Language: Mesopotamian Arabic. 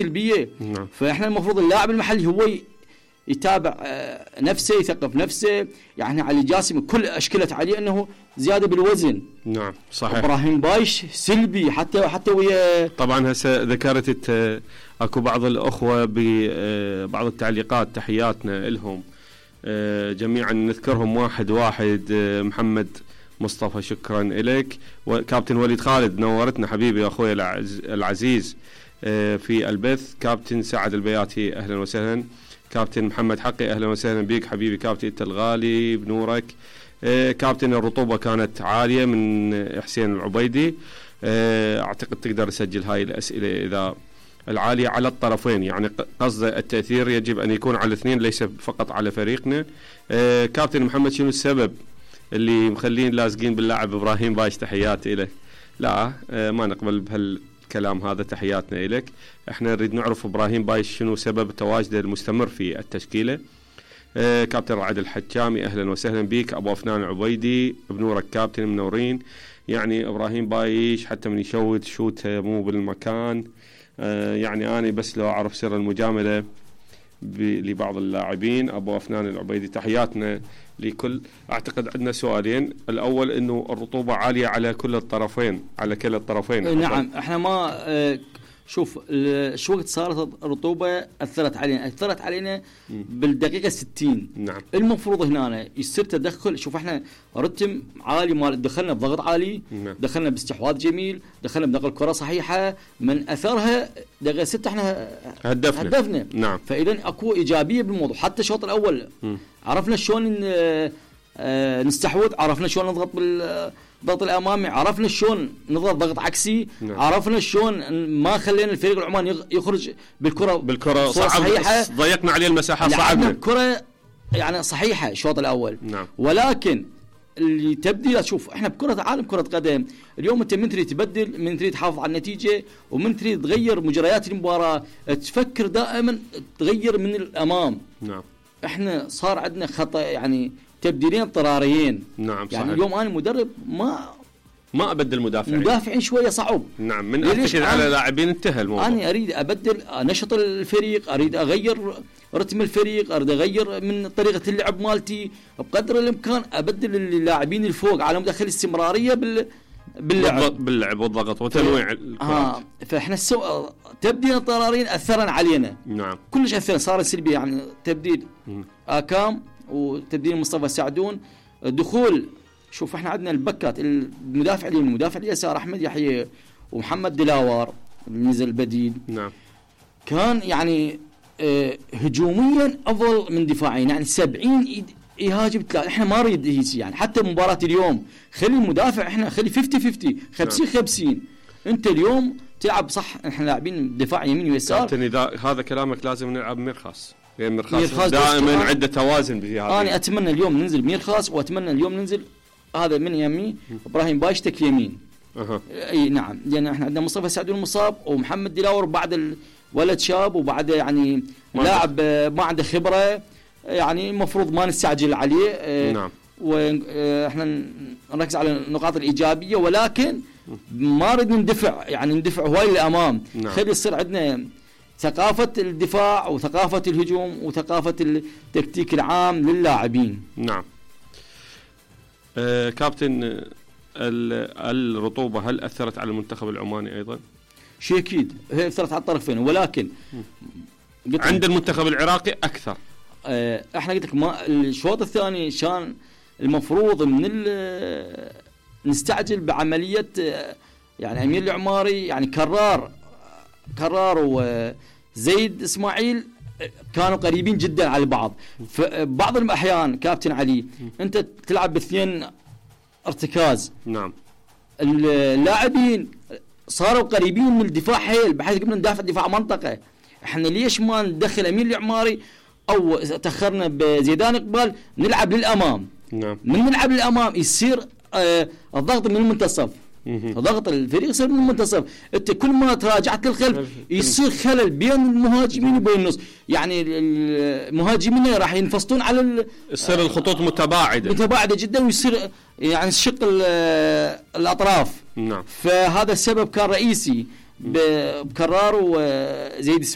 سلبيه. فاحنا المفروض اللاعب المحلي هو يتابع نفسه، يثقف نفسه. يعني علي جاسم كل اشكلت عليه انه زياده بالوزن. نعم صحيح. ابراهيم بايش سلبي حتى ويا. طبعا هسه ذكرت اكو بعض الاخوه ببعض التعليقات، تحياتنا لهم جميعا، نذكرهم واحد واحد. محمد مصطفى شكرا لك، وكابتن وليد خالد نورتنا حبيبي يا اخوي العزيز في البث. كابتن سعد البياتي اهلا وسهلا. كابتن محمد حقي اهلا وسهلا بك حبيبي كابتن انت الغالي بنورك. كابتن الرطوبه كانت عاليه من حسين العبيدي. اعتقد تقدر تسجل هاي الاسئله اذا العاليه على الطرفين، يعني قصده التاثير يجب ان يكون على الاثنين ليس فقط على فريقنا. كابتن محمد شنو السبب اللي مخلين لازقين باللاعب ابراهيم بايش؟ تحياتي له. لا ما نقبل بهالكلام هذا، تحياتنا لك. احنا نريد نعرف ابراهيم بايش شنو سبب تواجده المستمر في التشكيله. كابتن رعد الحجامي اهلا وسهلا بك. ابو افنان عبيدي بنورك كابتن منورين. يعني ابراهيم بايش حتى من يشوت شوته مو بالمكان. يعني انا بس لو اعرف سر المجامله لبعض اللاعبين. ابو افنان العبيدي تحياتنا لكل. اعتقد عندنا سؤالين، الاول انه الرطوبه عاليه على كل الطرفين، على كلا الطرفين. نعم احنا ما شوف شو وقت صارت الرطوبه اثرت علينا بالدقيقه 60. نعم المفروض هنا يصير تدخل. شوف احنا رتم عالي، مال دخلنا بضغط عالي. نعم. دخلنا باستحواذ جميل، دخلنا بنقل كره صحيحه، من اثرها دقيقه 6 احنا هدفنا. نعم. فاذا اكو ايجابيه بالموضوع. حتى الشوط الاول عرفنا شلون نستحوذ، عرفنا شلون نضغط بالضغط الامامي، عرفنا شلون نضغط ضغط عكسي. نعم. عرفنا شلون ما خلينا الفريق العماني يخرج بالكره صعبه، ضيقنا عليه المساحه، صعبنا الكره يعني صحيحه الشوط الاول. نعم. ولكن اللي تبديلات، شوف احنا بكره عالم كره قدم اليوم انت من تريد تبدل، من تريد تحافظ على النتيجه، ومن تريد تغير مجريات المباراه، تفكر دائما تغير من الامام. نعم. احنا صار عندنا خطا، يعني تبديلين اضطراريين. نعم يعني اليوم انا مدرب ما ابدل مدافعين شويه صعب. نعم. من ارتكز على لاعبين انتهى الموضوع. انا اريد ابدل، نشط الفريق، اريد اغير رتم الفريق، اريد اغير من طريقه اللعب مالتي بقدر الامكان، ابدل اللاعبين الفوق على مود اخلي استمراريه باللعب والضغط وتنويع الكرات. فاحنا تبديل اضطراريين اثرن علينا. نعم. كلش اثر، صار سلبي. يعني تبديل اكام وتبديل مصطفى سعدون، دخول. شوف احنا عندنا البكات، المدافع اليمين، المدافع اليسار احمد يحيى ومحمد دلاور نزل بديل. نعم. كان يعني هجوميا افضل من دفاعيا، يعني 70 يهاجم 3. احنا ما نريد هيك، يعني حتى مباراه اليوم خلي المدافع، احنا خلي 50-50 50-50. انت اليوم تلعب صح، احنا لاعبين دفاع يمين ويسار. كابتن اذا هذا كلامك لازم نلعب مرخص، لان مرخص دائما عنده توازن بهذا. انا اتمنى اليوم ننزل ميرخاص، واتمنى اليوم ننزل هذا من يمي ابراهيم بايشتك يمين. اي نعم، لان احنا عندنا مصطفى سعدون مصاب، ومحمد دلاور بعد الولد شاب، وبعد يعني لاعب ما عنده خبره، يعني المفروض ما نستعجل عليه. نعم. واحنا نركز على النقاط الايجابيه، ولكن ما نريد ندفع هواي للامام. نعم. خلي يصير عندنا ثقافة الدفاع وثقافة الهجوم وثقافة التكتيك العام للاعبين. نعم. كابتن الرطوبة هل أثرت على المنتخب العماني أيضا؟ شيء أكيد، هي أثرت على الطرفين، ولكن عند المنتخب العراقي أكثر. احنا قلت لك ما الشوط الثاني كان المفروض من نستعجل بعملية. يعني أمير العماري يعني كرار وزيد إسماعيل كانوا قريبين جدا على بعض. فبعض الأحيان كابتن علي أنت تلعب باثنين ارتكاز. نعم. اللاعبين صاروا قريبين من الدفاع حيل، بحيث قمنا ندافع دفاع منطقة. احنا ليش ما ندخل أمير العماري أو تأخرنا بزيدان إقبال نلعب للأمام؟ نعم. من نلعب للأمام يصير الضغط من المنتصف. ضغط الفريق يصير من المنتصف. انت كل ما تراجعت للخلف يصير خلل بين المهاجمين وبين النص. يعني المهاجمين راح ينفصلون على يصير الخطوط متباعده جدا، ويصير يعني شق الاطراف. نعم. فهذا السبب كان رئيسي بكرار وزيد